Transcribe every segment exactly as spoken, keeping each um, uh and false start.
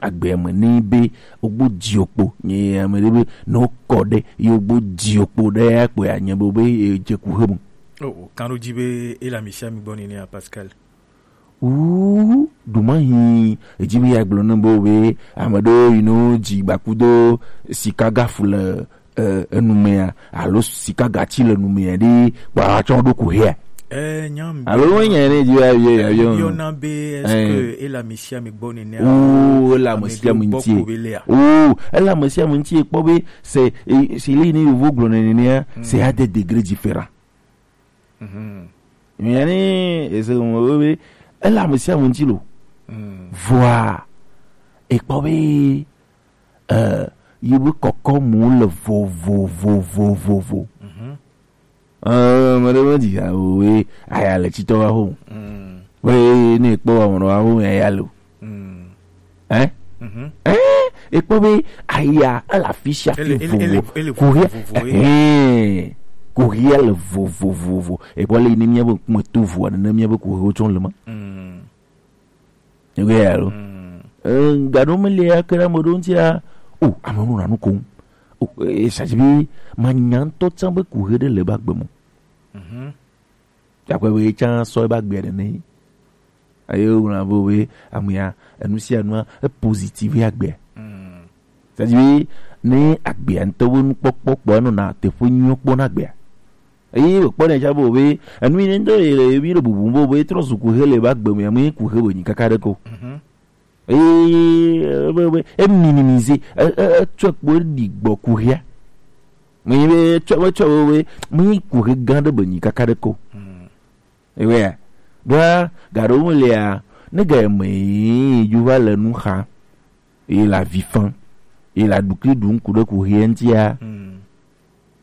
Agbe me ni be ogbo di okpo nye ame ɖe be ne wokɔ ɖe ye ogbo di okpo ɖe ya kpɔe anye be be ye dze kuxe me. Oh, oh, kan ɖo dzi be ele ame sia ame gbɔ nene ya, Pascal. Uu, ɖuma hi edzi be ya gblɔ ne be wo be ame ɖewo yi no dzi gbakudo sika gafu le eh, enumea alo sika gatsi le numea ɖi kpa tsɔ ɖo kuxia. Eh, nyam. Alo wo nya ne dzi ayo ayo. Yɔna be est-ce que ele ame sia ame gbɔ nene? Oh, ele ame sia ame ŋuti. Oh, ele ame sia ame ŋuti kpɔ be c'est, c'est le ne yovo gblɔ nenea, c'est à des degrés différents. Mhm. Mais yani ese mo be ele ame sia ame ŋuti lo. Vɔa ekpɔ be eh, yi be kɔkɔ mu le vovovovovo. Mhm. Eh, me ɖe me dzi ya o we aya le tsitɔ wa ho. Mm. We ne kpɔ wa mo wa ho ya ya lo. Mm. Eh? Mhm. Eh, ekpɔ be aya ala fisia fi vovo. Ele ele ele vovo. Kuhia. Eh. Kuhia le vovovovo. Ekpɔ le ni mia be kuma tu voa ne mia be kuhia o tsɔn le ma. Mm. Ewɛ alo. Gaɖo mele ya ke ɖe ame ɖewo ŋutia o, ame ɖewo nɔ nu kom. O, e, sa dzi be manya ŋutɔ tsã be kuhe ɖe le ebe agbe me. Akpe be tsã sɔ ebe agbea ɖe ne. Aye wona be be amea enu sia nua e positive agbea. Sa dzi be ne agbea ŋutɔ be nukpɔkpɔ kpɔ enɔna teƒe nyuiwo kpɔ na agbea. Eye wòkpɔ ɖe tsã be enu yi ne ŋutɔ yi le ebi ɖe bubu be be trɔ zu kuhe le ebe agbe me, ame yi kuhe be nyi kaka ɖe ko. Eye be be e minimise, e e etsɔ kpo ɖi gbɔ kuhea. Me yi be etsɔ etsɔ be be me yi kuhe gã ɖe be nyi kaka ɖe ko. Ewea ɖoa gaɖo me lia ne ga me yi ju va le nu xa. Ye le avi fam, ye le aɖukli ɖum ku ɖe kuhea ŋutia,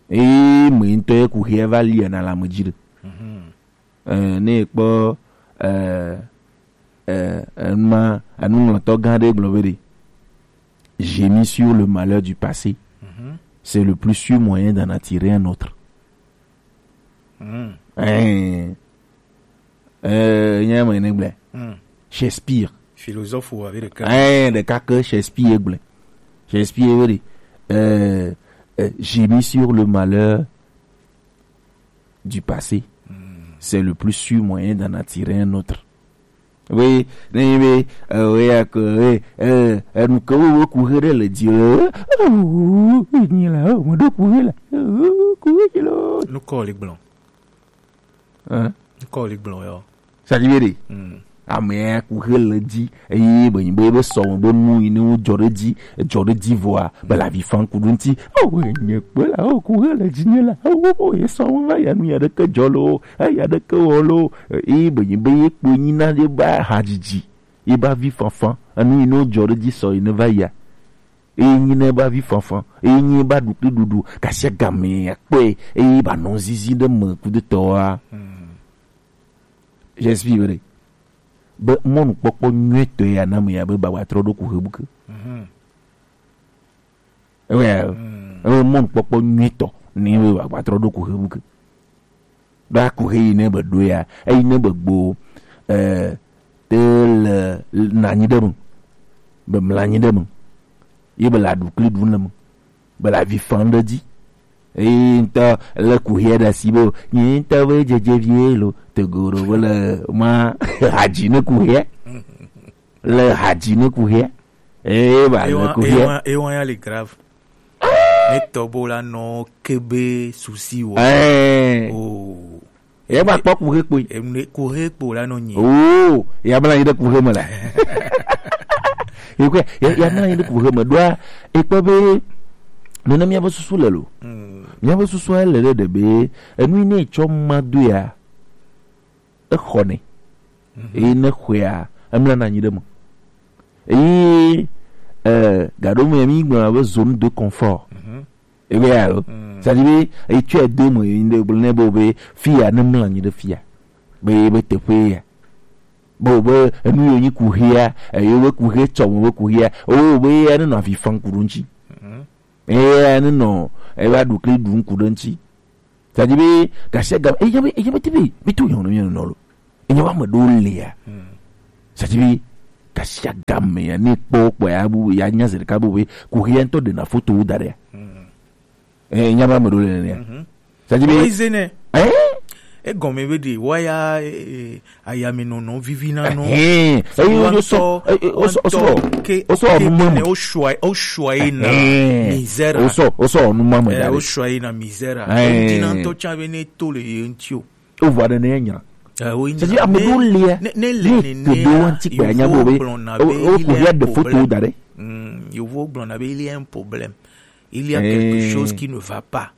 eye me ŋutɔ ye kuhea va lia na le ame dzi ɖe. Eh, ne ekpɔ eh, eh, enuma enuŋlɔtɔ gã ɖe gblɔ be ɖe, gémir sur le malheur du passé, c'est le plus sûr moyen d'en attirer un autre. Eh, eh, nye ame ne gblɔe. Shakespeare. Philosophe ou avec le cœur. Eh, ɖeka ke Shakespeare gblɔe. Shakespeare be ɖe, eh, eh, gémir sur le malheur du passé, c'est le plus sûr moyen d'en attirer un autre. Oui, ne be eh, ya ke eh, eh, enu ke wo ku he ɖe le dzi le eh, nyi la o mo ɖo ku he la ku he dzi lo. Nukɔ li gblɔ. Hein? Nukɔ li gblɔ yɔ. Sa dzi be ɖe. Amea ku he le dzi eye be nyi be be sɔ be nu yi ne wo dzɔ ɖe dzi dzɔ ɖe dzi vɔa be la vi fan ku ɖo ŋti. O nye kpe la o ku he le dzi nye la o ye sɔ va ya nu ya ɖe ke dzɔ lo. Eya ɖeke wɔ lo. Eye be nyi be ye kpo nyi na ye ba hadzidzi ye ba vi fanfan enu yi ne wo dzɔ ɖe dzi sɔ yi ne va yia. Eye nyi ne ba vi fanfan eye nyi ba ɖukli ɖuɖu kasi agame akpɔe eye ba nɔ zizi ɖe me kudetɔa. J'explique be ɖe be mɔnukpɔkpɔ nyuitɔ ya na me ya be ba wa trɔ ɖo ku he buke. Ewe ewe mɔnukpɔkpɔ nyuitɔ ni we wa trɔ ɖo ku he buke. Ɖo aku he yi ne be ɖo ya eyi ne be gbo eh te le nanyi ɖe me be mlanyi ɖe me ye be la ɖu kli ɖu le me be la vi fan ɖe dzi. Eyi ŋutɔ le kuhia ɖe asi be nyi ŋutɔ be dzedze vie lo tegoro be le ma hadzi ne kuhia le hadzi ne kuhia. Eye ba le kuhia. Ewa ya le grave. Ne tɔbo la nɔ kebe susi wɔ. Eh. Oh. Ye ba kpɔ kuhe kpoe. Emne kuhe kpo la nɔ nyi. Oh, ya bla yi de kuhe me la. Ye kwe ya ya na yi de kuhe me doa e kpɔ be nene mia be susu le lo. Mia be susu le de be enu ne tsɔ ma do ya. Exɔnɛ. Eye ne xɔea emlana anyi ɖe me. Eye eh, gaɖo me mi gblɔna be zone de confort. Ebe ya lo. C'est-à-dire be etsɔe do me yi ne gblɔ ne be be fia ne mla anyi ɖe fia. Be be teƒe ya. Be be enu yo nyi kuhia, eyo be kuhe tsɔ mo be kuhia. O be ya ne nɔ afi fan ku ɖo ŋtsi. Eye ya ne nɔ eva ɖu kli ɖu ŋku ɖe ŋtsi. Tadi be gasi agam eye be eye be ti be be to yɔn yɔn nɔ lo. Eye wa me ɖo lia. Tadi be Gasiagame ya ne kpɔ kpɔ ya bu ya nya zerika bu be ku ya ŋutɔ ɖena foto wo da ɖe. Eh, nya ba me ɖo le nea. Sadi be. Ɔyi ze nɛ. Eh? Egɔme be ɖe waya, eh, ayamenɔnɔ vivi na nɔ. Eh, eh, o sɔ, eh, eh, o sɔ, o sɔ, ke o sɔ ke nu ma ne mo. O sɔ, o sɔ yi na. Eh, misère. O sɔ, o sɔ nu ma mo. Eh, da o ɖe. Sɔ yi na misère. Eh. O dina ŋutɔ tsa be ne to le ye ŋuti o. O vɔ ɖe ne nya. Eh, o nya. C'est-à-dire, ame ɖewo lia, ne, ne le ne ne ke ɖo ŋuti kpe anya bo be, o, o ko ya de foto da ɖe. Mm, yewo gblɔna be il y a un problème. Il y a quelque chose qui ne va pas.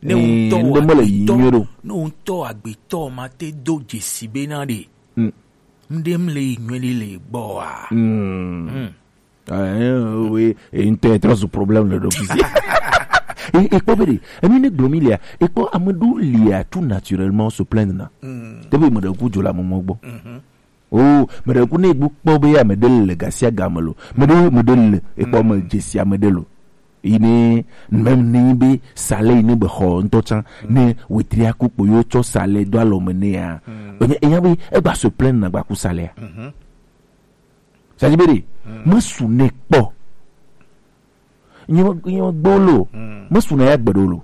Ne ŋutɔ ŋɖe mele yi nyuie ɖo. Ne ŋutɔ agbetɔ ma te do dzesi be na ɖe. Mm. Ŋɖe mele yi nyuie ɖe le gbɔ wa. Mm. Mm. Ah, eh, oui, et une tête, trop ce problème le dofizi. Et, et quoi, et nous ne domi lia, et quoi, ame ɖewo lia tout naturellement se plaindre na. Mm. Te be me ɖe ku dzola mo mo gbɔ. Mhm. Oh, me ɖe ku ne gbu kpɔ be ame ɖe le gasia game lo. Me ɖe, me ɖe le, e kpɔ me dzesi ame ɖe lo. Yi ne, même ne be salaire yi ne be xɔ ŋutɔ tsã, ne wetri aku kpo yo tsɔ salaire do alɔ me ne ya. Mm. Enya, enya be, e gba se plaindre na gba ku salaire. Mhm. Sadi be ɖe, mesu ne kpɔ. Nye, nye gbo lo. Mesu na ya gbe ɖo lo.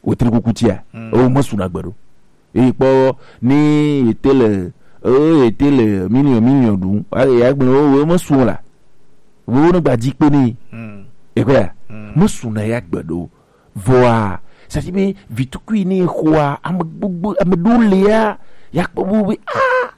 Wetri kuku tia. O mesu na gbe ɖo. Eyi kpɔ ni ete le, o ete le million, million ɖu. A, ya gbe o, o mesu la. Wo ne gba dzi kpe ni. Ekwe ya. Mesu na ya gbe ɖo. Vɔa, sadi be vitukui ni xoa, ame gbogbo, ame ɖo le ya. Ya kpɔ bo be, ah,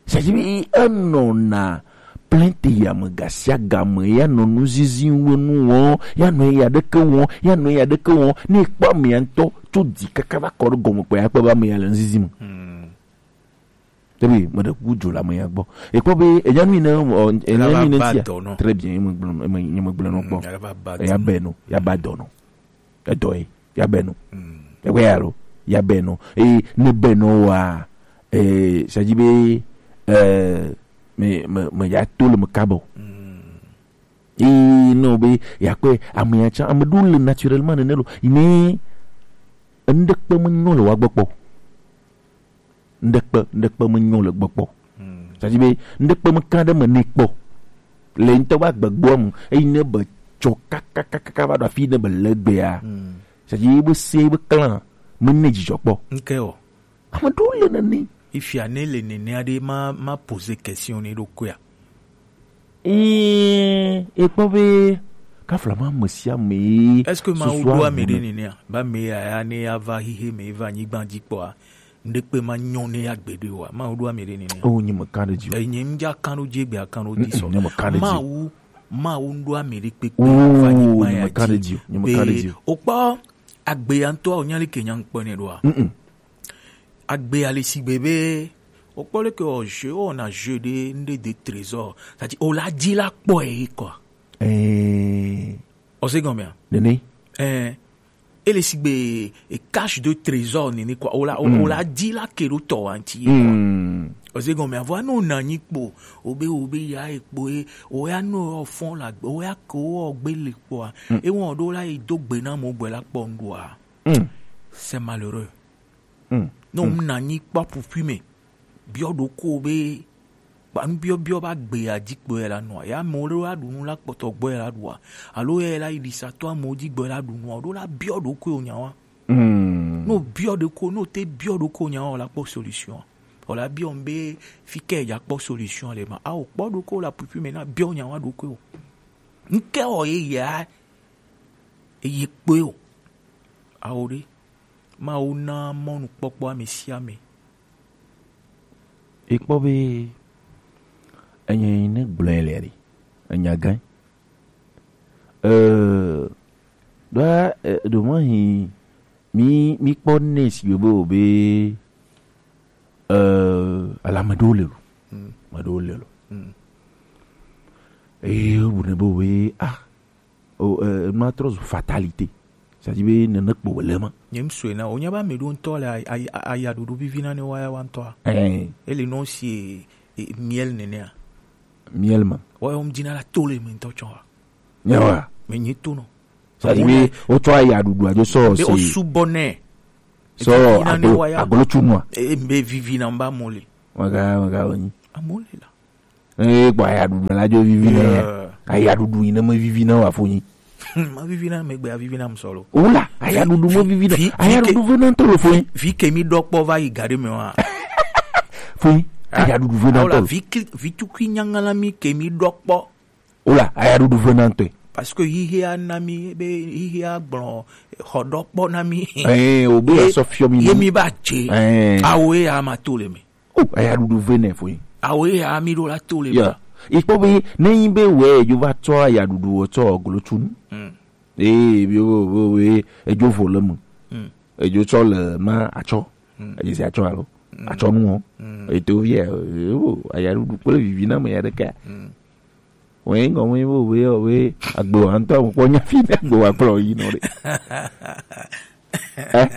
c'est-à-dire, enɔna plainte ya me gasiagame, ya nɔ nuzizi we nu wɔm, ya nɔ ya ɖeke wɔm, ya nɔ ya ɖeke wɔm. Ne ekpɔ amea ŋutɔ tso dzi kaka va kɔ ɖe gɔme kpɔ ya kpɔ be amea le nuzizi me. Tebi, me ɖe kuku dzo le amea gbɔ. Ekpɔ be enya nu yi ne, ɔ, enya nu yi ne tia. Très bien, ye me gblɔ, ye me, ye me gblɔ nɔ kpɔ. Ya bɛ no, ya ba dɔ nɔ. Edɔ ye, ya bɛ no. Ewe ya lo, ya bɛ no. E ne bɛ no wa, e, c'est-à-dire be, e, me, me, me ya to le me kabɔ. E no be, ya kpɛ, ame ya tsã, ame ɖo le naturellement nene lo. Yi ne, ŋɖekpe me nyɔ le wa gbɔ kpɔ. Ŋɖekpe, ŋɖekpe me nyɔ le gbɔ kpɔ. C'est-à-dire be, ŋɖekpe me ka ɖe me ne kpɔ. Le ŋutɔ be agbegbɔa mu, eyi ne be tsɔ kakakaka va ɖo afi ne be le gbea. C'est-à-dire be se be clan, me ne dzidzɔ kpɔ. Nke o. Ame ɖewo le nene. Ifia ne le nene aɖe ma, ma poser question ne ɖokuia. Ee, ekpɔ be, kafla ma ame sia ame. Est-ce que ma wo ɖo ame ɖe nene? Ba me ya, ya ne ya va hihe me va anyigba dzi kpɔa. Ŋɖekpe ma nyɔ ne ya gbeɖe wa. Ma wo ɖo ame ɖe nene. Oh, nye me kan ɖe dzi o. Eh, nye ŋdza kan ɖo dzi gbe akan ɖo dzi sɔ. Nye me kan ɖe dzi o. Mawu, Mawu ŋɖo ame ɖe kpekpe. Oh, va anyigba nye ya me kan ɖe dzi o. Nye me kan ɖe dzi o. Okpɔ agbe ya ŋutɔ o nya le ke nya ŋkpɔ ne ɖoa. Agbe ale si gbe be, okpɔ le ke o jeu, o na jeu de, nde de trésor. C'est-à-dire, o la dzi la kpɔ e quoi. Eh. O se gɔmea? Nene. Eh. Ele si gbe e cache de trésor nene quoi. O la, o, o la dzi la ke ɖo tɔ wa ŋti ye quoi. O se gɔmea? Vɔ no na nyi kpo. O be, o be ya e kpo e. O ya no o fɔn la, o ya ke o gbe le kpɔa. E wɔn ɖo la e do gbe na mo gbe la kpɔ ŋɖoa. C'est malheureux. Ne wona anyi kpɔ aƒuƒui me, biɔ ɖokuiwò be, kpa nubiɔbiɔ be agbe ya dzi kpɔe la nɔa, ya amewo ɖewo aɖu nu la kpɔtɔ gbɔ ya la ɖua, alo ya la yi ɖisatɔ amewo dzi gbɔ ya la ɖu nua, o ɖo la biɔ ɖokuiwò nya wa. Ne o biɔ ɖokuiwò, ne o te biɔ ɖokuiwò nya wa, o la kpɔ solution. O la biɔ be fi ke ya kpɔ solution le ma. A o kpɔ ɖokuiwò le aƒuƒui me na biɔ nya wa ɖokuiwò. Ŋke wɔ ye ya eye kpɔe o. Awo ɖe. Mawu na mɔnukpɔkpɔ ame sia ame. Ekpɔ be enye yi ne gblɔe le ɖi. Enya gã. Euh, ɖoa, eh, ɖo mahi mi, mi kpɔ ne si be o be, euh, ala me ɖewo le lo. Me ɖewo le lo. Eye o bu ne be o be, ah, o, eh, ma trɔ zu fatalité. C'est-à-dire be nene kpo wòle ma. Nye ŋsɔe na, wònya be ame ɖewo ŋutɔ le a-, a-, a-, ayaɖuɖu vivi na ne woaya wa ŋutɔa. Ɛɛ. Ele nɔ si, e, e, miel nenea. Miel ma. Woawo ŋdzi na la to le me ŋutɔ tsɔ wa. Nyawa. Me nyi to nɔ. C'est-à-dire be wotsɔ ayaɖuɖu adzo sɔ be se. Be wosubɔ nɛ. Sɔ vivi na ne ado, woaya. Agolo tsu nua. E, be vivi na mba mo le. Waga, waga wonyi. Amo le la. Eh, gbɔ ayaɖuɖu la dzo vivi nɛ. Yeah. Ayaɖuɖu yi ne me vivi na wa fo nyi. Ma vivi na me gbe, a vivi na musolo. Ola, ayaɖuɖu me vivi na. Vi, vi, Ayaɖuɖu ve na ntɔ lo fo nyi. Vi ke mi ɖɔ kpɔ va yi gaɖe me wa. Fo nyi, ayaɖuɖu ve na ntɔ lo. Vi tukui nyangala mi ke mi ɖɔ kpɔ. Ola, ayaɖuɖu ve na ntɔ. Parce que hihi a na mi be, hihi a gblɔ xɔ ɖɔ kpɔ na mi. Eh, o be asɔ fiɔ mi. Ye mi ba dze. Eh. Awo ye a ma to le me. O, ayaɖuɖu ve nɛ fo nyi. Awo ye a mi ɖo la to le. Yeah. Ikpɔ be ne nyi be wɛ edzo va tsɔ ayaɖuɖu wɔ tsɔ glo tunu. Mm. Ee, bi wo wo we edzo vo le mu. Mm. Edzo tsɔ le ma atsɔ. Mm. Edze si atsɔ alo. Mm. Atsɔ nu wo. Mm. Eto vie o, ayaɖuɖu kple vivi na me ya ɖeka. Mm. Wɛ ŋgɔ wɛ wo we o we agbo antɔ kpɔ nya fi ne agbo wa kplɔ yi nɔ ɖe. Eh?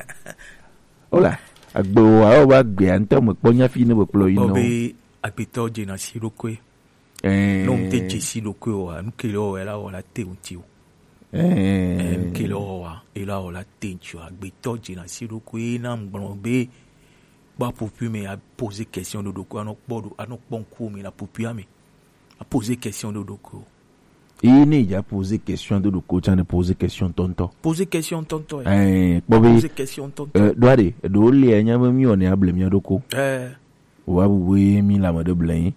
Ola, agbewo awo ba gbea ŋutɔ me kpɔ nya fi ne be kplɔ yi nɔ. Be agbetɔ dzena si ɖokui. Eh. No mte dze si ɖokui o, nu ke le o, ela o la te ŋuti o. Eh. Eh, nu ke le o wa, ela o la te ŋuti o. Agbetɔ dzena si ɖokui na ŋgblɔ be, ba popi me a poser question ɖo ɖokui, anɔ kpɔ ɖo, anɔ kpɔ ŋku me la popi ame. A poser question ɖo ɖokui o. Eye ne dza poser question do ɖoko tsa ne poser question tɔntɔ. Poser question tɔntɔ. Eh, kpɔ be. Poser question tɔntɔ. Eh, ɖo aɖe, ɖo le nya be mi wɔne able mi ɖoko. Eh. Wa bu be mi la me ɖe ble yi.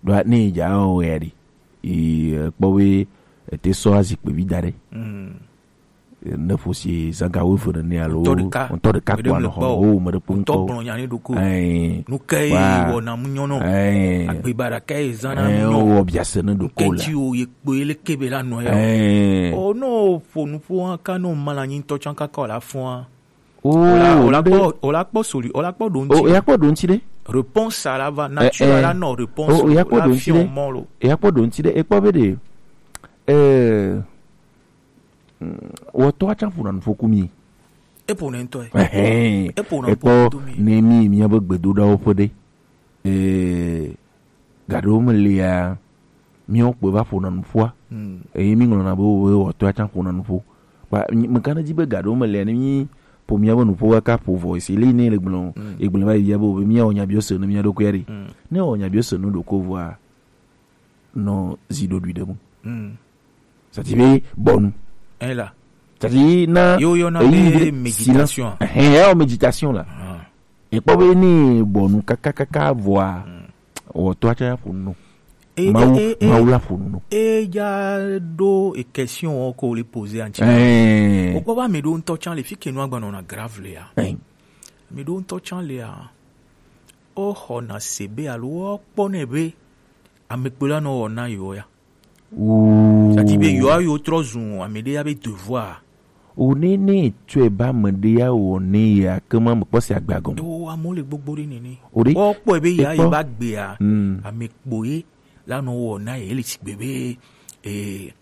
Ɖo ne dza o ya ɖi. E, eh, kpɔ be, e te sɔ azikpe vi da ɖe. Mm. Ne ƒo si zã ga wuieve nene alo ŋutɔ ɖeka, ŋutɔ ɖeka ko anɔ xɔ o, me ɖe kpɔnkɔ. Ŋutɔ gblɔ nya ne ɖoko. Ɛɛ. Nu ke wɔna mu nyɔnɔ. Ɛɛ. Agbe baɖa ke zã na mu nyɔ. Wɔ biase ne ɖoko la. Ke ti o ye kpo ye le kebe la nɔ ya. Ɛɛ. O no ƒo nuƒo hã ka no ma la nyi ŋutɔ tsã kaka o la fɔa. O la kpɔ, o la kpɔ soli, o la kpɔ ɖo ŋuti. O ya kpɔ ɖo ŋuti ɖe. Réponse a la va naturel la nɔ réponse. O ya kpɔ ɖo ŋuti ɖe. Ya kpɔ ɖo ŋuti ɖe. Ekpɔ be ɖe. Ɛɛ. Wɔtɔ atsa ƒona nu ƒo ku mi. Eƒona ŋutɔ ye. Ɛhɛn. Eƒona ƒo ku mi. Ekpɔ ne mi miabe gbedoɖawo ƒe ɖe. Ee, gaɖewo me lia, miawo kpɔe va ƒona nu ƒoa. Hmm. Eye mi ŋlɔna be wo wɔtɔ atsa ƒona nu ƒo. Kpa mi ka ne di be gaɖewo me lia ne mi ƒo miabe nu ƒo kaka ƒo vɔ esi li ne le gblɔ. Hmm. Egblɔ va yi bia be wo be miawɔ nyabiɔ se ne mia ɖokui ɖe. Hmm. Ne wɔ nyabiɔ se ne ɖoko vɔa. Nɔ zi ɖoɖui ɖe mu. Mm. C'est-à-dire be bɔnu. Ela. C'est-à-dire na yo yo na be méditation. Ɛhɛn, ya méditation la. Ah. Ekpɔ be ni bɔnu kaka kaka vɔa. Mm. Wɔtɔ atsa ya ƒo nu. Mawu, e, e, Mawu la ƒo nu. E ja ɖo e question wo ko le poser anti. Eh. O kpɔ ba mi ɖo ŋutɔ tsã le fi ke nu agba nɔna grave le ya. Eh. Mi ɖo ŋutɔ tsã le ya. O xɔna se be alo o kpɔ ne be ame kpo la nɔ wɔ na yewo ya. Oooo. Sati be yewoa yewo trɔ zu ame ɖe ya be devoir. O ne ne tsɔe ba ame ɖe ya wɔ ne ya ke ma me kpɔ si agbe agɔme. O amewo le gbogbo ɖe nene. O ɖe. Kpɔ kpɔe be ya ye ba gbea. Mm. Ame kpo ye la nɔ wɔ na ye le sigbe be, eh,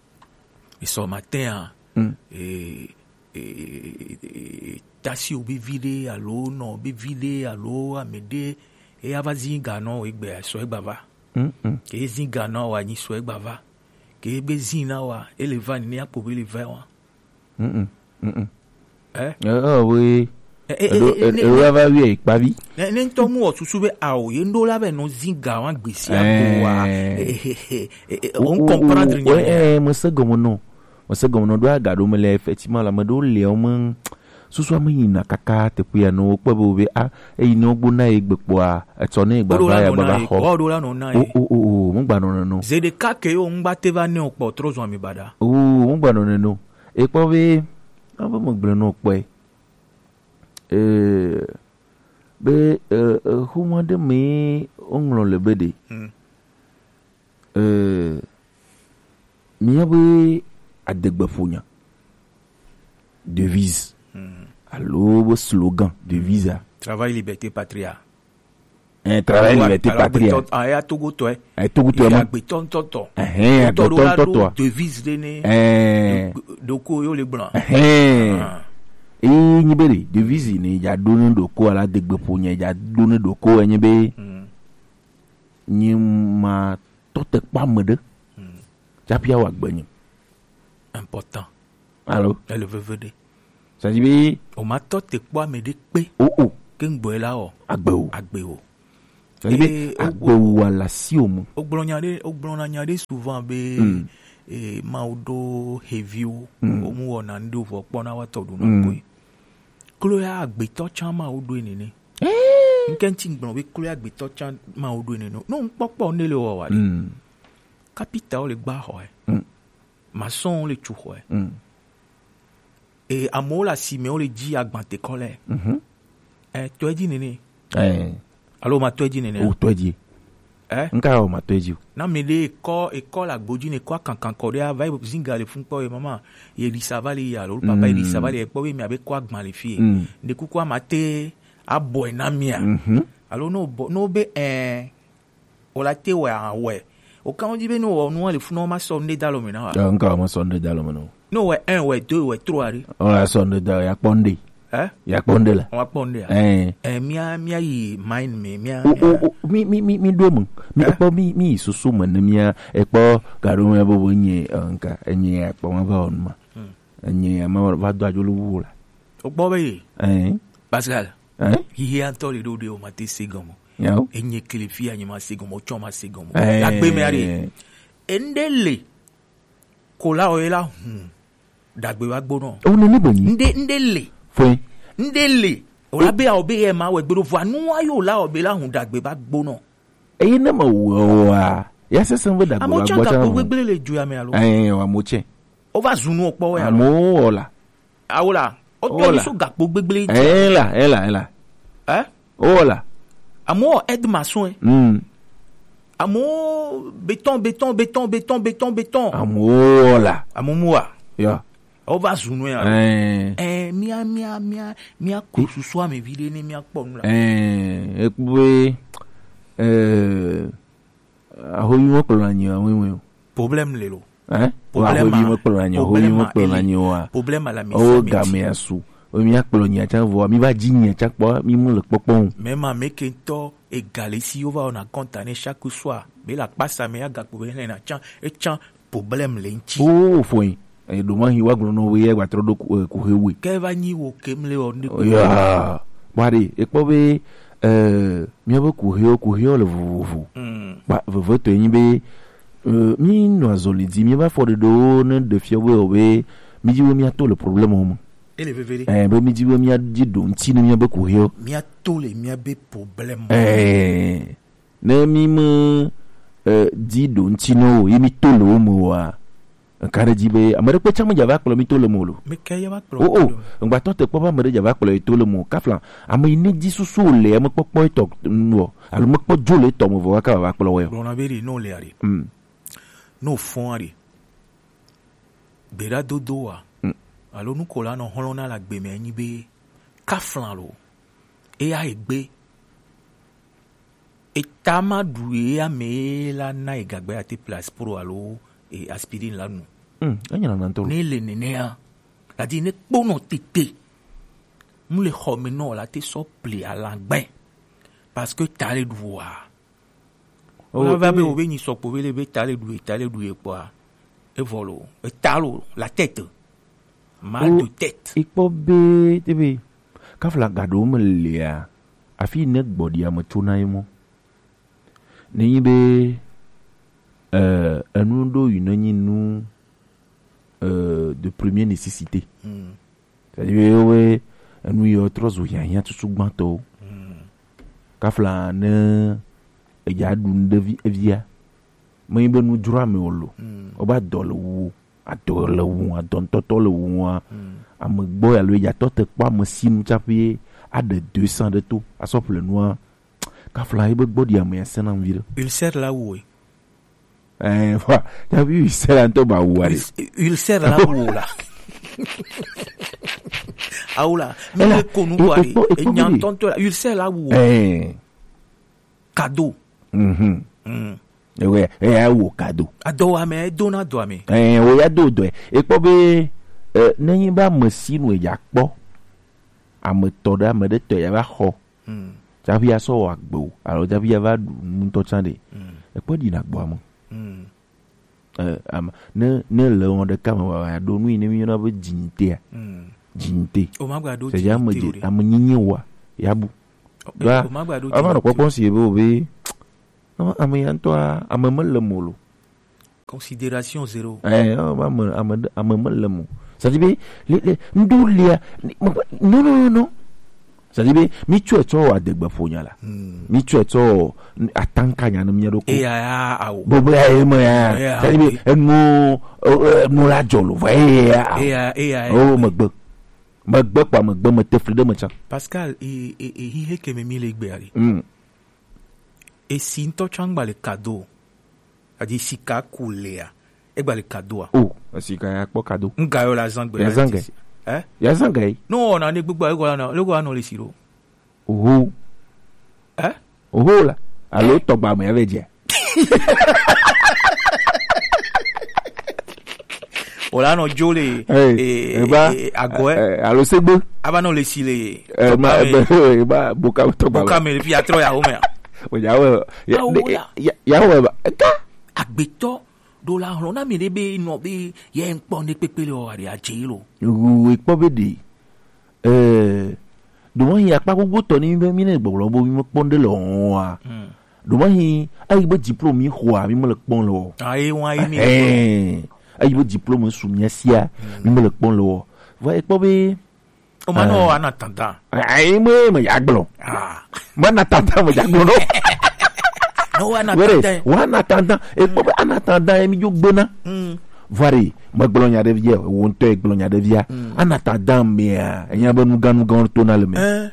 esɔ matin a. Mm. Eh, eh, eh, tasi wo be vi ɖe alo nɔ be vi ɖe alo ame ɖe eya va zi ga nɔ egbe sɔ egba va. Mm, mm. Ke zi ga nɔ wa nyi sɔ egba va. Ke be zi na wa ele va ni akpo be le va wa. Mm, mm, mm, mm. Eh? Eh, eh, oui. Eh, eh, eɖo eh, eh, eh, ne, eɖo ne, va wi ekpavi. Ne ne ŋutɔ mu wɔ susu be ao ye ŋɖo la be nɔ zi ga wa gbesi ato wa. Eh. Eh, eh, eh, eh, eh, o, on o, comprendre o, nya eh, ya. Eh, mese gɔme nɔ. Mese gɔme nɔ ɖo aga ɖo me le effectivement la me ɖo le o me. Susua me yina kaka teƒe ya nɔ wo kpɔ be wo be a eyi ne wo gbo na ye gbe kpɔa etsɔ ne gba va ya gba va xɔ. Wo ɖo la nɔ na ye. O, o, o, o, mo gba nɔ nɔ nɔ. Ze ɖeka ke yo ŋgba te va ne o kpɔ trɔ zɔn mi baɖa. O, mo gba nɔ nɔ nɔ. E kpɔ be, a be me gblɔ nɔ kpɔe. Eh, be, eh, eh, xoma ɖe mee woŋlɔ le be ɖe. Hmm. Eh, míabe adegbeƒonya, devise, hmm, alo be slogan, devise a. Travail, liberté, patrie. Eh, travail, liberté, patrie. Alo agbetɔ, ah, ya Togotɔe. Eh, Togotɔe ma. Agbetɔ ŋutɔtɔ. Ɛhɛn, agbetɔ ŋutɔtɔa. Devise ɖe ne. Eh. Ɖoko yo le gblɔ. Ɛhɛn. Ah. Eyi nyi be ɖe, devise ne ya ɖo ne ɖoko alo adegbeƒonya ya ɖo ne ɖoko enyi be, hmm, nyi ma tɔ te kpɔ ame ɖe. Hmm. Tsaƒi awɔ agbe nyi. Important. Alo? Ele veve ɖe. C'est-à-dire be o ma tɔ te kpɔ ame ɖe kpe. O, o. Ke ŋgbɔe la o. Agbe o. Agbe o. Ebe, eh, agbewu ala si o mu. Ogblɔ nya ɖe, ogblɔna nya ɖe souvent be, mm, eh, Mawu ɖo heviwo, mm, wo mu wɔna ŋɖe vɔ kpɔna wa tɔ ɖuna, mm, koe. Klo ya agbetɔ tsã Mawu ɖoe nene. Eh. Ŋkɛ ŋti gblɔ be klo ya agbetɔ tsã Mawu ɖoe nene. No ŋkpɔkpɔ ne le wɔ wa ɖe. Mm. Kapita wo le gba xɔe. Mm. Masɔn wo le tu xɔe. Mm. E amewo le asime wo le dzi agbantekɔ lɛ. Mhm. Eh, tɔe dzi nene. Eh. Alo ma tɔe dzi nene. O tɔe dzi. Eh? Nka o ma tɔe dzi o. Na mi ɖe ekɔ, ekɔ le agbo dzi ne ekɔ akankan kɔ ɖe ava yi zinga le fun kpɔ ye mama. Ye ɖi sava le ya lo papa ye ɖi sava le kpɔ be mi abe kɔ agban le fie. Mm. Ne kuku ama te abɔe na mia. Mhm. Alo no bɔ, no be, eh, o la te wɛ awɛ. O kan di be no wɔ nu le fun no ma sɔ nde da lo me na wa. Eh, nka o ma sɔ nde da lo me no. No wɛ un, wɛ deux, wɛ trois ɖe. O la sɔ nde da ya kpɔ nde. Eh? Ya kpɔ nde la. Wa kpɔ nde. Eh. Eh, mia, mia yi mind me, mia, o, mia. O, o, mi, mi, mi, mi ɖo me. Mi, eh? Ekpɔ mi, mi yi susu me ne mia, ekpɔ gaɖo me bobo nye, eh, nka, enye ya kpɔ ma va o nu ma. Hmm. Enye ya ma va do adzo lu wu la. O gbɔ be ye. Eh. Pascal. Eh? Hihi antɔ le ɖo ɖe o ma te se gɔmɔ. Yawo. Enye kele fi ya nye ma se gɔmɔ, o tsɔ ma se gɔmɔ. Eh. La gbe me ari. Ende le. Ko la o ye la hun dagbe va gbonɔ. O nene be nyi. Nde, nde le. Fue. Nde le. O la be awo be ye ma wɛ gbeɖo vɔ anu wa yo la o be la hun dagbe va gbonɔ. Eye ne me wɔ wa, ya sese be dagbe va gbɔ tsã. Amewo tsã gakpo gbegble le du ya me alo. Eh, wa mo tsɛ. O va zunu o kpɔ wɛ alo. Amewo wɔ la. Awo la. O tɔ ni so gakpo gbegble. Eh la, eh la, eh la. Eh? O la. Amewo wɔ aide maçon, eh. Hmm. Amewo béton, béton, béton, béton, béton, béton. Amewo wɔ la. Amewo mu wa. Ya. O va zunu ya. Eh. Eh, mia, mia, mia, mia ko susu ame vi ɖe ne mia kpɔ nu la. Eh, ekpɔ be, eh, ahoyi mo kplɔ na nyi awe mo. Problème le lo. Hein? Problème. Ahoyi mo kplɔ na nyi, ahoyi mo kplɔ na nyi wa. Problème à la, o game asu. O mi akplɔ nyi atsa vɔ, mi va dzi nyi atsa kpɔ, mi mu le kpɔkpɔ o. Mais ma me ke ŋutɔ ega le si wo va wɔna kɔnta ne chaque soir. Be la kpasa me ya gakpo be le na tsa, e tsa problème le ŋtsi. O fo yin. E ɖo ma hi wa gblɔ nɔ we ya gba trɔ ɖo ku, eh, kuhe we. Ke va nyi wo ke mle wɔ ne. Ya. Wa ɖe, e kpɔ be, eh, mia be kuhe wo, kuhe wo le vovovo. Mm. Ba, veve to yin be, eh, mi nɔ azɔli di, mi va fɔ ɖe ɖo ne ɖe fia we o be, mi di we mi ato le problème o me. Ele veve ɖe. Eh, be mi di we mi adi ɖo ŋtsi ne mia be kuhe wo. Mi ato le mia be problème. Eh. Ne mi me, eh, di ɖo ŋtsi na wo, ye mi to le wo me wa. Nka ɖe dzi be ame ɖe kpe tsã me dza va kplɔ mi to le me o lo. Me ke ye va kpɔ. O, o, ŋgbatɔ te kpɔ be ame ɖe dza va kplɔ ye to le me o. Kafla, ame yi ne dzi susu o le, ame kpɔkpɔ etɔ nu o, alo me kpɔ dzo le etɔ me vɔ wa ka va kplɔ wɛ o. Gblɔna be ɖe, no le aɖe. Mm. No fɔn aɖe. Gbeɖa dodo wa. Mm. Alo nuko la nɔ hlɔ̃ na la gbe me nyi be kafla lo. Eya egbe. Eta ma ɖu ye ame ye la na ye gagbe ate place pro alo, e, aspirine la nu. Hmm, enya na ntɔ. Ne le nenea, la di ne kpɔnɔ tete. Mu le xɔ me nɔ la te sɔ ple alagbe. Parce que ta le ɖu wa. O, la va be e o be nyi sɔkpo be le be ta le ɖu ye, ta le ɖu ye kpɔa. E vɔ lo, e ta lo, la tête. Mal de tête. Ikpɔ be te be kafla gaɖo me lia. Afi ne gbɔɖi ame tso na ye mɔ. Ne nyi be, eh, enu ɖo yi ne nyi nu, eh, de première nécessité. Mm. C'est-à-dire be enu yi trɔ zu hiahiã tutu gbãtɔwo. Mm. Kafla ne edza ɖu nu ɖe vi, evia. Me nyi be nu dzro ame o lo. Mm. O ba dɔ le wu. Adɔ le wu, adɔ ŋutɔtɔ le wu wa. Mm. Ame gbɔ alo ya tɔ te kpɔ ame si nu tsaƒe aɖe deux cents ɖe to asɔ ƒle nua. Kafla yi be gbɔ ɖi ame ya sena ŋvi ɖe. Ulcère la wu. Eh, wa, ya bi ulcère ŋutɔ ba wu aɖe. Ulcère la wu la. Awu la. Mi le ko nu kɔ aɖe. Enya ŋutɔŋutɔ la. Ulcère la wu. Eh. Cadeau. Mhm. Mm. Ewe, eya wo cadeau. Adɔwame, edona dɔame. Eh, wo ya do dɔe. Ekpɔ be, eh, nenyi be ame si nu eya kpɔ, ame tɔ ɖe, ame ɖe tɔ ya va xɔ. Mm. Tsaƒi ya sɔ wɔ agbe o, alo tsaƒi ya va ɖu nu ŋutɔ tsã ɖe. Mm. Ekpɔ ɖi na gbɔ ame. Mm. Eh, am, ne, ne le wɔn ɖeka me wa, wa ɖo nu yi ne mi yɔna be dzinyite a. Mm. Dzinyite. O ma gba ɖo. C'est-à-dire ame dzinyite dze, o ɖe. Ame nyinyi wa, ya bu. Ɖoa, ava nɔ kpɔkpɔ si ebe o be, Non, ame ya ŋutɔa, ame mele mo lo. Considération zéro. Eh, oh, ame, ame, ame mele mo. C'est-à-dire, be, le, le, ŋɖo lia, ni-, me-, non, non, non, non. C'est-à-dire, be, mi tsɔe tsɔ wɔ adegbe ƒo nya la. Hmm. Mi tsɔe tsɔ wɔ atanka nya ne mia ɖo ko. Eya, ya, awo. Bobo ya, ye me ya. Eya, c'est-à-dire, be, awo. Enu, eh, enu la dzɔ lo, vɔ, eya, ya, awo. Eya, eya, eya. Oh, megbe. Megbe kpa megbe, me te fli ɖe me tsã. Pascal, e, e, e, hihe ke me mi le gbe ari. Hmm. Esi ŋutɔ tsã ŋgba le kado. Adi sika ku lea. Egba le kadoa. Oh, esika ya kpɔ kado. Ŋga yo la zan gbe. Ya zan ge. Eh? Ya zan ge. No, na ne gbogbo ayi gwa na, le gwa no le siro. Oho. Eh? Oho la. Alo tɔgba me ya ve dze. O la nɔ jo le, hey, eh, eba, eh, agɔ, eh, eh, alo segbe. Aba nɔ le si le. Eh, ma, tɔgba me. Ebe, eba, boka, tɔgba boka me. Me le fi atrɔ ya home a. O ya we, ya, awo de, ya. Ya, ya we ba. Eka. Agbetɔ ɖo la hlɔ̃ na mi ɖe be nɔ be ye ŋkpɔ ne kpekpe le o ari adze lo. Wu ekpɔ be de. Eh, ɖo mahi akpa gbogbo tɔ ni be mi ne gbɔgblɔ bo mi me kpɔn ɖe le o wa. Hmm. Ɖo mahi ayi be diplôme mi xɔa mi me le kpɔn le o. Ah, ye wa ye mi. Eh, ayi be diplôme su mi sia, hmm, mi me le kpɔn le o. Va ekpɔ be o ma no, ah, ana tanta. Ayi me, me ya gblɔ. Ah. Me na tanta, me ya gblɔ no. No, wa na tanta. Were, wa na tanta. Ekpɔ be ana tanta ye mi jo gbena. Hmm. Vare, megblɔ nya ɖe via, wo ŋutɔ egblɔ nya ɖe via. Mm. Ana ta dam mea, enya be nugan nugan to na le me. Eh.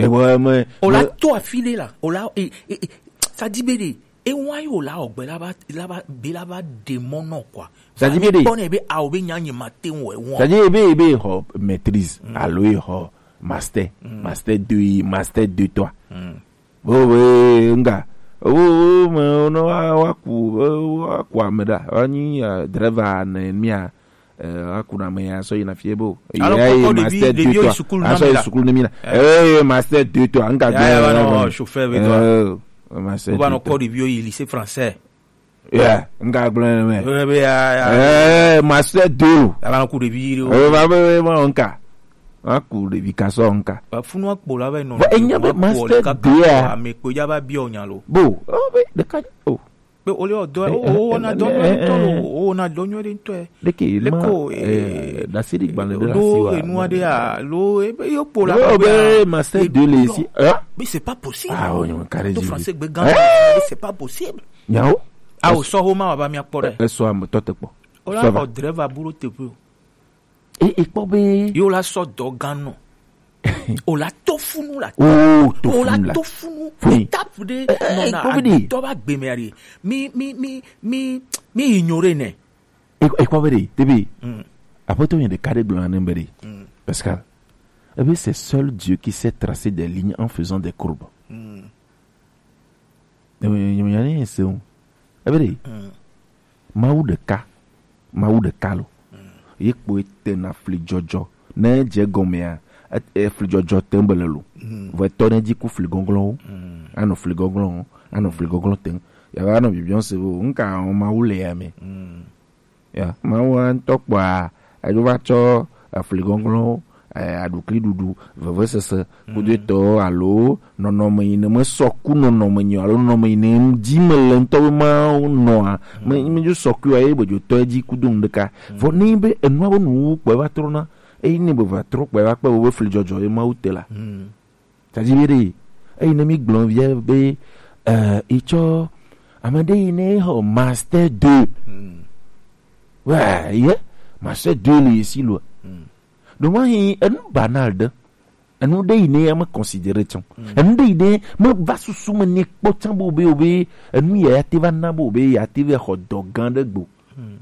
E wo me. O la me to afi ɖe la, o la, e, e, e, ça dit be de, e wa yo la ogbe la ba, la ba, be la ba de mɔ nɔ quoi. Ça dit be de. Kpɔ ne be a o be nya nye ma te wo e wo. Ça dit be, be ho maîtrise, mm, alo e ho master, mm, master deux, master deux, toi. Mm. Bo be nga. Wo, wo me no wa, wa ku, wo, wa ku ame ɖa. Wa nyi, eh, driver ne mia. Eh, wa ku na me ya so yina fie bo. Alors, ya kɔkɔ ɖevi, master ɖevi deux, yo toi. Sukulu na so me la. Sukulu ne mi la. Eh. Eh, master deux, toi. Nga ya, ya, ba no, chauffeur be toi. Eh, master deux, toi. Ba no kɔ ɖevi yo yi lycée français. Yeah, nga gblɔ ne me. Eh, be ya, ya. Eh, master deux. Ala ku ɖevi ɖo. Eh, va be, be, ma nka. Ma ku ɖevi ka so nka. Ba funu akpo la be no. Ba enya be master deux a. Ame kpo ya ba bi o nya lo. Bo, o be de ka o. Be o le o do, o, o na do nyo de to lo, o na do nyo de to. De ke ma, leko, eh, eh, da siri gban de la lo, si wa. Enu ade a, lo, e be yo kpo la. Lo be master deux le si. Hein? Mais c'est pas possible. Ah, o nyo kare. To français be gan, mais c'est pas possible. Nyawo. A o sɔ ho ma wa ba mi akpɔ ɖe. E sɔ am tɔ te kpɔ. O la xɔ driver bu ɖo teƒe o. E, e kpɔ be. Yo la sɔ dɔ gan nɔ. O la to funu la. O to funu la. O la to funu. Funu. Étape ɖe. Eh, eh, nɔ na e kpɔ be ɖe. Adɔ ba gbe me ɖe. Mi, mi, mi, mi, mi ignore ne. E, e kpɔ be ɖe, tebi. Mm. Aƒetɔ yɛn ɖeka ɖe gblɔ na ne be ɖe. Mm. Pascal. Ebe c'est seul Dieu qui sait tracer des lignes en faisant des courbes. Mm. Nyemenya ne se o. Ebe ɖe. Mm. Mawu ɖeka, Mawu ɖeka lo. Mm. Ye kpoe tena fli dzɔdzɔ. Ne dze gɔmea, e, e, fli dzɔdzɔ te be le lo. Mm. Vɔ etɔ ne dzi ku fli gɔglɔwo. Mm. Anɔ fli gɔglɔ, anɔ fli gɔglɔ te. Ya va nɔ bibiɔ se o, nka o Mawu le ya me. Mm. Ya, Mawu ŋutɔ kpɔa, eɖo va tsɔ efli gɔglɔwo, eh, aɖukli ɖuɖu, vevesese, mm, kudo etɔwo alo nɔnɔme yi ne mesɔ ku nɔnɔme nyi o, alo nɔnɔme yi ne dzi mele ŋutɔ be Mawu nɔa, mm, me, me dzo sɔ kui o, eye be dzo tɔ edzi kudo nu ɖeka. Mm. Vɔ ne be enua be nuwuwu kpɔe va trɔna, eye ne be va trɔ kpɔe va kpe be fli dzɔdzɔ ye Mawu te la. Mm. Tadi be ɖe, eyi ne mi gblɔ via be, eh, etsɔ ame ɖe yi ne xɔ master deux. Hmm. Ouais, ye, master deux le si lo. Hmm. Donc, moi, enu banal ɖe, enu ɖe yi ne ya me considérer tsã. Hmm. Enu ɖe yi ne me va susu me ne kpɔ tsã bo be, o be, enu ya ya te va na bo be, ya te va xɔ dɔ gã ɖe gbo. Hmm.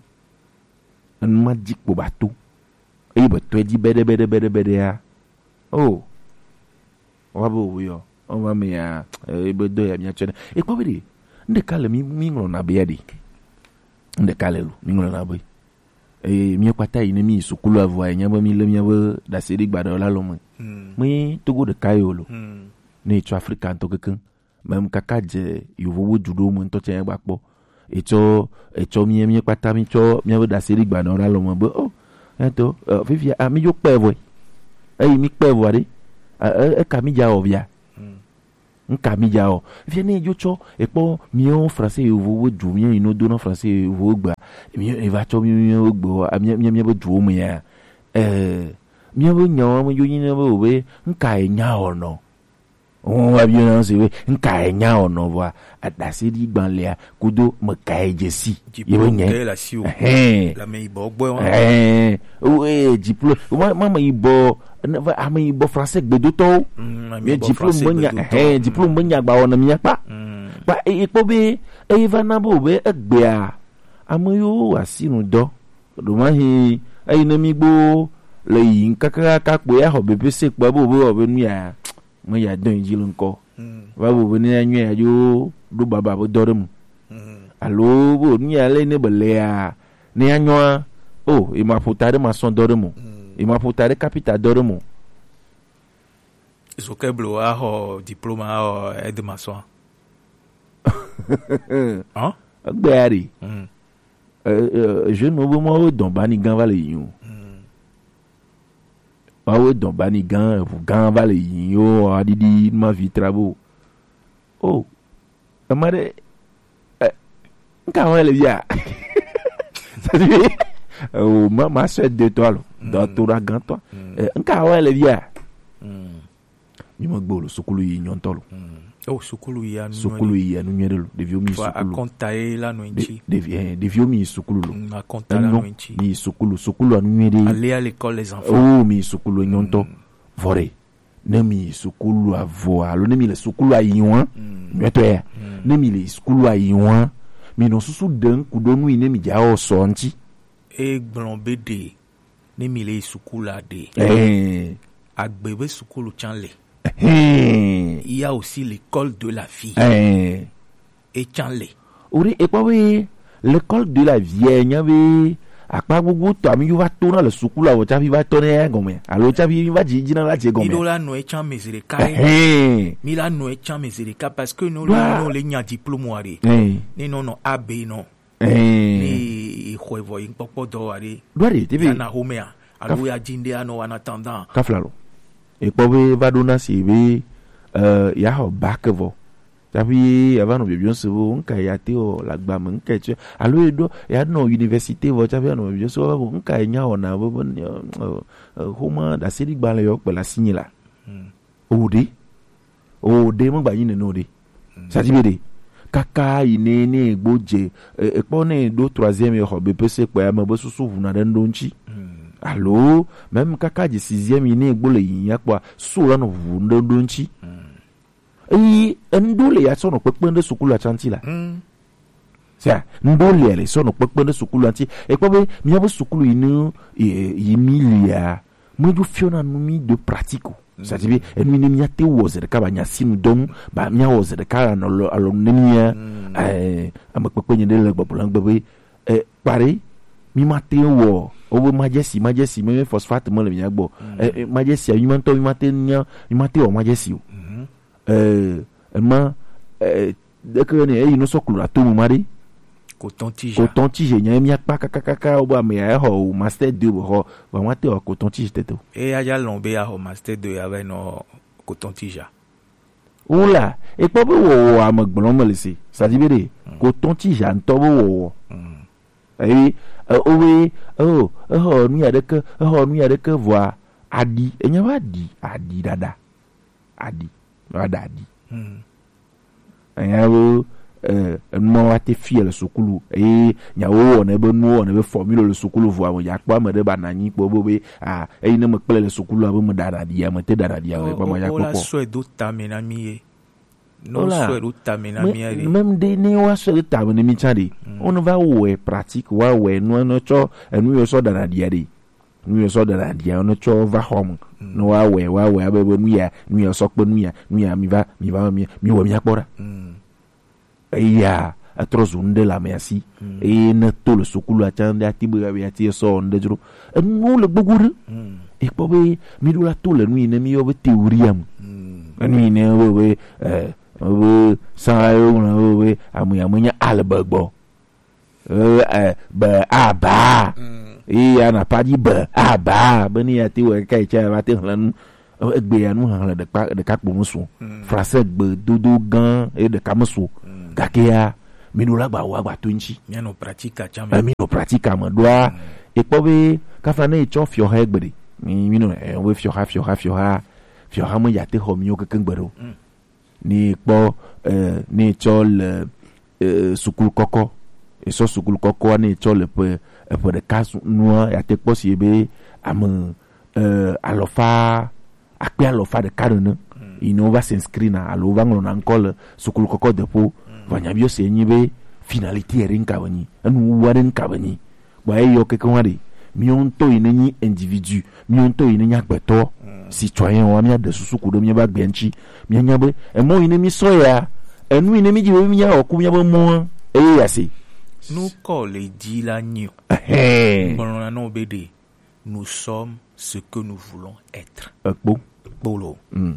Enu ma dzi kpo ba to. Eye be tɔe dzi beɖe, beɖe, beɖe, beɖe ya. Oh. Wa be wo yɔ. O ma me ya, eh, be do ya mia tsɔ ne. E kpɔ be ɖe. N ɖeka le mi, mi ŋlɔ na be ya ɖe. N ɖeka le lo, mi ŋlɔ na be. Eye mi kpata yi ne mi sukulu avɔ ya nya be mi le mia be dase ɖe gba ɖe la lo me. Hmm. Me Togo ɖeka yo lo. Hmm. Ne tso Afrika ŋutɔ kekeŋ. Mem kaka dze yovowo du ɖo me ŋutɔ tsɛ gba kpɔ. Etsɔ, etsɔ mie, mie kpata mi tsɔ mia be dase ɖi gbanɔ ɖe alɔ me be, oh, eto, eh, fifia, ah, mi dzo kpɛ vɔe. Eyi mi kpɛ vɔa ɖe, ah, eh, eka mi dza wɔ via. Hmm. Nka mi ja o. Fia ne jo tsɔ ekpɔ miɔ français yovo wo ju mi ino do na français yovo gba. Mi e va tsɔ mi mi gbe mi mi mi be ju me ya. Eh, mi be nya mi jo ni be o be nka e nya o no. Won wa bi na se we nka e nya o no vɔ. Adase di gban le a kudo me ka e jesi. Ye be nye. Diplôme de la siwo. Hein. La me ibo gbo wa. Hein. O e diplôme. Ma ma me ibo. Ame yibɔ français gbedotɔwo. Mm, ame yibɔ diplôme français me nya, gbedotɔ. Hein, diplôme me nya gba wɔna mi akpa. Mm. Kpa e kpɔ be e va na bo be egbea ame yo asi nu dɔ. Do ma hi eyi ne mi gbo le yi kaka ka kpo ya xɔ B P C kpo bo be o be nu ya me ya dɔn ji le nkɔ. Mm. Va bo be ne ya nyɔ ya jo do baba be dɔ ɖe mu. Mm. Alo bo nu ya le ne be le ya ne ya nyɔa o e ma ƒo ta ɖe ma sɔn dɔ ɖe mu. Mm. E ma ƒo ta ɖe kapita dɔ ɖe mu. Zo ke blo axɔ diplôme axɔ aide maçon. Hein? Egbe ya ɖe. Mm. Euh, euh, jeune wo be mɔ wo dɔn bani gan va le yi o. Mm. Wa wo dɔn bani gan eʋu gan va le yi o aɖiɖi ma vi trabo. Oh. Ema ɖe eh, nka wa le via. C'est-à-dire, euh, ma ma sœur de toi lo, dans ton grand toi. Eh, nka wa le via. Mm. Mi me gbe o lo sukulu yi nyɔntɔ lo. Mm. Oh, sukulu yi anu. Sukulu yi anu nyuie ɖe lo. Ɖeviwo mi yi sukulu. Akɔnta ye la no ŋti. Ɖevi eh, ɖeviwo mi yi sukulu lo. Mm, akɔnta la no ŋti. Mi yi sukulu, sukulu anu nyuie ɖe. Aller à l'école les enfants. Oh, mi yi sukulu nyɔntɔ. Mm. Vɔ ɖe. Ne mi yi sukulu avɔ alo ne mi le sukulu ayi wa. Mm. Nyuie tɔ ya. Mm. Ne mi le sukulu ayi wa. Mi nɔ susu ɖe ŋku ɖo nu yi ne mi ja o sɔ ŋti. E gblɔ be ɖe ne mi le sukulu aɖe. Eh. Agbe be sukulu can le. Eh. Il y a aussi l'école de la vie. Eh. E can le. O ɖe e kpɔ be l'école de la vie nya be akpa gbogbo tɔ ami yo va to na le sukulu avɔ tsafi va tɔ ne ya gɔme alo tsafi va dzi dzi na la dze gɔme. Mi ɖo la nɔ e can me zi ɖeka ye. Eh. Mi la nɔ e can me zi ɖeka parce que no le nya diplôme wa ɖe. Eh. Ne nɔ nɔ A B nɔ. Ɛɛ. Ni ixɔe vɔ yi kpɔkpɔ dɔ wa ɖe. Ɖo ɖe tebe. Ya na xomea alo ya dzi ɖe anɔ wa na tandan. Kafla lo. Ekpɔ be va ɖo na si be eh, ya xɔ bac vɔ. Tsafi ya va nɔ bibiɔ se bo nka ya te o la gba me nka tse alo e ɖo ya nɔ université vɔ tsafi ya nɔ bibiɔ se bo nka ya nya o na bo bo xoma da se di gba le yɔ kpe la sinyi la. Hmm. O ɖe. O ɖe me gba yi nene o ɖe. Sadi be ɖe kaka yi ne ne gbo dze ekpɔ ne ɖo troisième xɔ B P C kpɛ ame be susu ʋuna ɖe ŋɖo ŋtsi alo même kaka dze sixième yi ne gbo le yi ya kpɔa susu la nɔ ʋu ɖe ŋɖo ŋtsi. Eyi eŋɖo le ya sɔ nɔ kpekpe ɖe sukulu atsanti la. Sia ŋɖo le le sɔ nɔ kpekpe ɖe sukulu atsanti ekpɔ be mía be sukulu yi ne yi mi lia medzo fiɔna nu mi de pratique o. C'est-à-dire be enu yi ne míate wɔ ze ɖeka ba nya si nu dɔnu ba míawɔ ze ɖeka anɔ alɔ ne mía eh, ame kpekpe nye ɖe le gbɔgblɔ gbe be eh, kpaɖe mi mate wɔ wobe majesi majesi me phosphate me le mía gbɔ eh, eh, majesi mi mantɔ mi mate nya mi mate wɔ majesi o eh, ema eh, deke ne eyi no sɔ klo la to mu ma ɖe. Coton tige. Coton tige nya mía kpa kakakaka wo be ame ya xɔ o master deux be xɔ ba ma te wɔ coton tige tete o. Eya ja lɔn be ya xɔ master deux ya va nɔ coton tige. Wula ekpɔ be wɔwɔ ame gblɔm le se sadi be ɖe coton tige ŋutɔ be wɔwɔ. Eye o be o exɔ nu ya ɖeke exɔ nu ya ɖeke vɔa aɖi enya va ɖi aɖi ɖaɖa aɖi va ɖa aɖi. Enya be eh, enu ma wa te fia le sukulu eye nyawo wɔna be nuwo wɔna be formule le sukulu vɔa me ya kpɔ ame ɖe ba na nyi kpɔ bo be ah eyi ne me kple le sukulu abe me ɖana ɖi ame te ɖana ɖi ame kpɔ ma ya kpɔ kpɔ. Sɔe do tame na mi ye. No sɔe do tame na mi ye. Même de ne wa sɔe do tame na mi tsa de. Wo ne va wɔe pratique wa wɔe nu ne tsɔ enu yo sɔ ɖana ɖi de. Nu yɔ sɔ ɖana ɖia ne tsɔ va xɔ me ne woawɔe woawɔe abe be nu ya nu ya sɔ kpe nu ya nu ya mi va mi va mi mi wɔ mi akpɔ ɖa. Eya etrɔ zu nu ɖe le amea si eye ne to le sukulu atsa nu ɖe ati be ya ati esɔ nu ɖe dzro enuwo le gbogbo ɖe. Ekpɔ be mi ɖo la to le nu yi ne mi yɔ be théorie me enu yi ne be be eh be sa yo ŋlɔ be be ame ya me nya ale be gbɔ. Eh, eh, be aba. Iya na padi be aba be ni ya te wɔ kai cha va te hlanu. Egbe ya nu hexlẽ ɖeka ɖeka kpo mesu o. Français gbe dodo gã ye ɖeka mesu o. Gake ya mi ɖo la gba wa gba to ŋuti. Mianɔ pratika tsã me. Emi nɔ pratika me ɖoa. Ekpɔ be kafa ne etsɔ fiɔha egbe ɖe. Mi mi nɔ eh, wo fiɔha fiɔha fiɔha fiɔha me ya te xɔ mi yo keke gbe ɖo. Ne kpɔ eh, ne etsɔ le eh, sukulu kɔkɔ. Esɔ sukulu kɔkɔa ne etsɔ le ƒe eƒe ɖeka su- nua ya te kpɔ si be ame eh, alɔfa akpe alɔfa ɖeka nene yi ne wova s'inscrit na alo wova ŋlɔna ŋkɔ le sukulu kɔkɔ deƒo. Vɔ nyabiɔ se nyi be finalité yɛ ɖe ŋka be nyi enu wuwa ɖe ŋka be nyi. Bɔ eyɔ keke wa ɖe miɔ ŋutɔ yi ne nyi individu miɔ ŋutɔ yi ne nyi agbetɔ citoyen wa mia ɖe susu ku ɖe mia ba gbɛ ŋuti mia nya be emɔ yi ne mi sɔ ya enu yi ne mi dzi be mia wɔ ku mia be mɔa eye ya se. Nukɔ le dzi la nyi o. Ɛhɛn. Gblɔna nɔ be ɖe nous sommes ce que nous voulons être. Ekpo. Kpolo. Mm.